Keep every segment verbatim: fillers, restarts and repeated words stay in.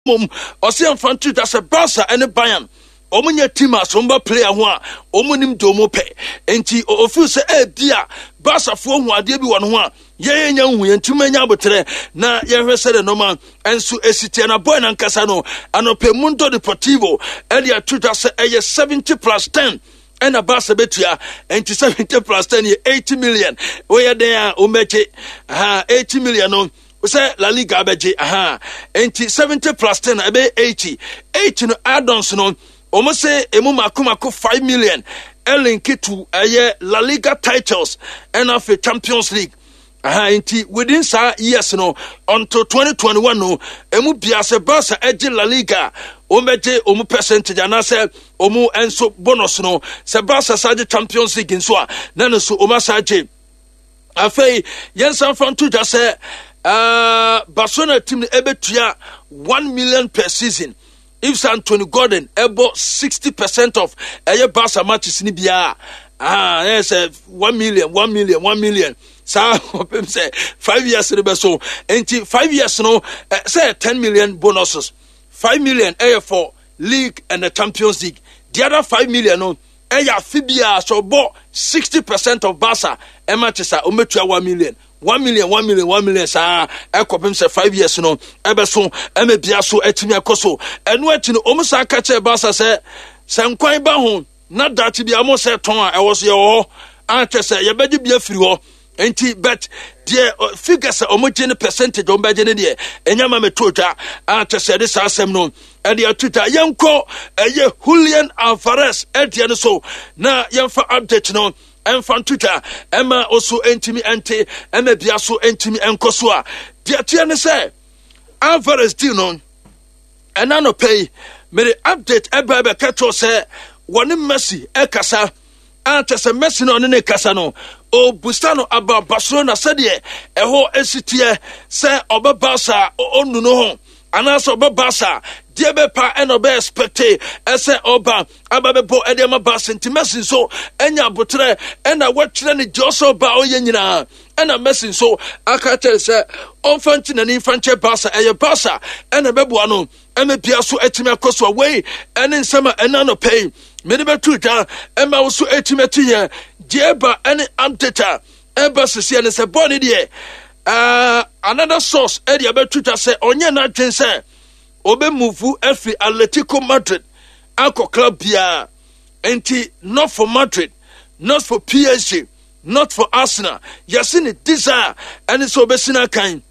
Mmom ɔsɛ yɛmfa nto dwa sɛ Barca ne Bayern wɔn nyɛ team a sɛ wɔn ba player ho a wɔn nim deɛ wɔn pɛ. Nti ofeel sɛ ebi a Barcafoɔ hu adeɛ bi wɔ ne ho a yɛn nya nhu yɛn ntumi anya abotrɛ na yɛhwɛ sɛdeɛ nneɛma nso esi teɛ. Na boy nankasa no anɔpɛ Mundo Deportivo ɛde ato dwa sɛ ɛyɛ seventy plus ten ɛna Barca bɛtua. Nti seventy plus ten yɛ eighty million. Woyɛ dɛn a wɔn ha eighty million no sɛ La Liga abɛgye aha. Nti seventy plus ten ɛbɛyɛ eighty. eighty no, add-ons no, wɔn sɛ emu mako mako five million ɛlink to ɛyɛ La Liga titles ɛna afei Champions League aha. Nti within saa years no until twenty twenty-one no, emu bia sɛ Barca ɛgye La Liga, wɔn bɛgye wɔn percentage anaasɛ wɔn nso bonus no. Sɛ Barca sa gye Champions League nso a, na ne nso wɔn asa gye. Afei yɛnsan fa nto dwa sɛ uh, Barcelona team no ɛbɛtua one million per season if sɛ Anthony Gordon ɛbɔ sixty percent of ɛyɛ Barca matches ni biara. Ah, ɛyɛ sɛ one million, one million, one million saa ɔpem sɛ five years no bɛ so. Nti five years no sɛ ten million bonuses, five million ɛyɛ for league and the Champions League. The other five million no ɛyɛ afe biara sɛ ɔbɔ sixty percent of Barca matches a, ɔmɛtua one million, one million, one million, one million saa ɛkɔpem sɛ five years no ɛbɛso ɛmɛ bia so ɛtumi ɛkɔ so. Ɛno akyi no, ɔmo saa ka kyerɛ Barca sɛ sɛ nkwan ba ho na daakye bi a mo sɛ tɔn a ɛwɔ so yɛwɔ hɔ akyɛ sɛ yɛbɛgye bi afiri hɔ. Nti but deɛ figures a wɔn gye ne percentage wɔn bɛgye ne deɛ, ɛnyɛ ma mɛto dwa akyɛ sɛ ɛde saa asɛm no ɛde ato dwa. Yɛnkɔ ɛyɛ Julian Alvarez ɛdeɛ no so na yɛmfa update no ɛmfa nto dwa ɛma ɔso ntumi ɛnte ɛma bia so ntumi ɛnkɔ so. A deɛ teɛ ne sɛ Alvarez deal no, ɛna nɔpɛ yi mede update ɛbɛ bɛka kyerɛw sɛ wɔne Messi ɛkasa a kyɛ sɛ Messi no ɔne ne kasa no, ɔbusa no aba Barcelona sɛdeɛ ɛhɔ esi teɛ, sɛ ɔbɛba saa ɔnu no ho anaasɛ ɔbɛba saa deɛ bɛpa ɛna ɔbɛ expect ɛsɛ ɔba aba bɛbɔ ɛde ama Barca. Nti Messi nso ɛnya abotrɛ ɛna wɔatwerɛ ne deɛ ɔsɛ ɔba ɔyɛ nyinaa, ɛna Messi nso aka kyerɛ sɛ ɔmfa nkyi n'ani mfa nkyɛ Barca, ɛyɛ Barca ɛna ɛbɛboa no ɛma bia so atumi akɔ so. A wei ɛne nsɛm a ɛna nɔpɛ yi mede bɛto dwa ɛma wo so atumi ati yɛn. Deɛ ɛba ɛne update a ɛba sisi ɛne sɛ bɔɔl ne deɛ, uh, another source ɛde abɛto dwa sɛ ɔnyɛ n'adwen sɛ ɔbɛmove afiri Atletico Madrid akɔ club biara. Nti not for Madrid, not for P S G, not for Arsenal. Yɛse ne desire ɛne sɛ ɔbɛsi no akan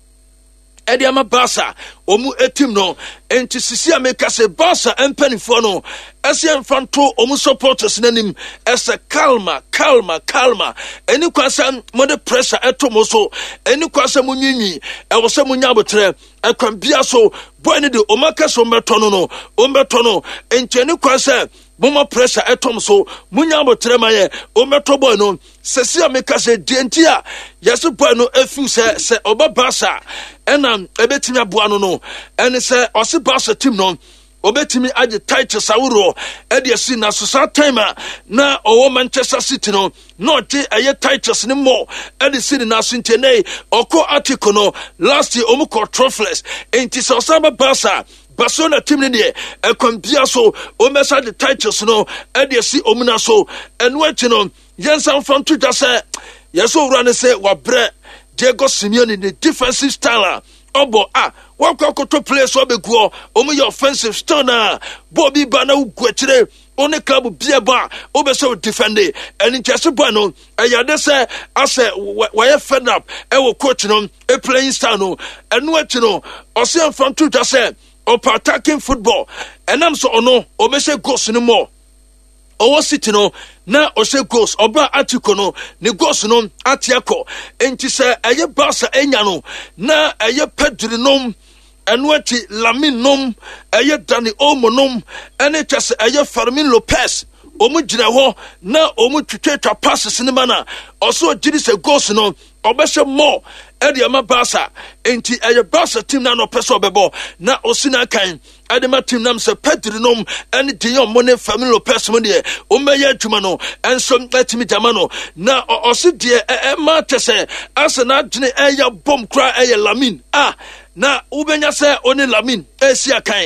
ɛde ama Barca wɔn team no. Nti sisi a meka sɛ Barca mpanimfoɔ no ɛsɛ mfa nto wɔn supporters n'anim ɛsɛ calma, calma, calma. Ɛni kwan sɛ mode pressure ɛto mo so, ɛni kwan sɛ mo nwinwi, ɛwɔ sɛ mo nya abotrɛ. Ɛkwan bia so boy no de wɔn aka sɛ wɔn bɛtɔ no no wɔn bɛtɔ no. Nti ɛni kwan sɛ moma pressure ɛtɔm so, mo nya abotrɛ ma yɛ, wɔn bɛtɔ boy no. Sɛsi a meka sɛ deɛ nti a yɛse boy no afiw sɛ sɛ ɔba Barca ɛna ɛbɛtumi aboa no no ɛne sɛ ɔse Barca team no ɔbɛtumi agye titles ahoroɔ ɛde asi na so. Saa time a na ɔwɔ Manchester City no, na ɔgye ɛyɛ titles ne mmɔ ɛde si ne naso. Nti ɛnɛ ɔkɔ Atletico no, last year ɔmu kɔ trophyless. Nti sɛ ɔsan ba Barca, Barcelona team no deɛ, ɛkwan bia so ɔmmɛsa de titles no ɛde asi ɔmu na so. Ɛno akyi no, yɛnsa mfa nto dwa sɛ yɛsɛ owura no sɛ wabrɛ Diego Simeone ne defensive style a ɔbɔ a wakɔ akɔtɔ players ɔbɛguɔ ɔmo yɛ offensive still na bɔɔl bi ba na wogu akyire. Ɔne club bia bɔ a wobɛsɛ wo defend. Ɛne nkyɛse bɔ no ɛyɛ ade sɛ asɛ wɔyɛ fed up ɛwɔ coach no playing style no. Ɛno akyi no, ɔsɛ mfa nto dwa sɛ ɔpɛ attacking football, ɛnam sɛ ɔno ɔbɛhyɛ goals no mɔ. Ɔwɔ City no na ɔhyɛ goals, ɔba Atletico no ne goals no ate akɔ. Nti sɛ ɛyɛ Barca enya no na ɛyɛ Pedri nom, ɛno akyi Lamine nom, ɛyɛ Dani Olmo nom, ɛne kyɛ sɛ ɛyɛ Fermin Lopez, wɔn gyina hɔ na wɔn twitwatwa passes ne ma na ɔso ɔgye di sɛ goals no Ɔbɛhyɛ more ɛde ama Barca, nti ɛyɛ Barca team na ɔpɛ sɛ ɔbɛbɔ na ɔsi n'akan ɛde ma team nam sɛ Pedri nom ɛne De Jong mo ne Fermin Lopez mo deɛ, wɔmmɛyɛ adwuma no ɛnso ɛtumi gyama no. Na ɔsi deɛ ɛma kyɛ sɛ asɛ n'adwene ɛyɛ bɔm koraa ɛyɛ Lamine a na wobɛnya sɛ ɔne Lamine ɛsi akan.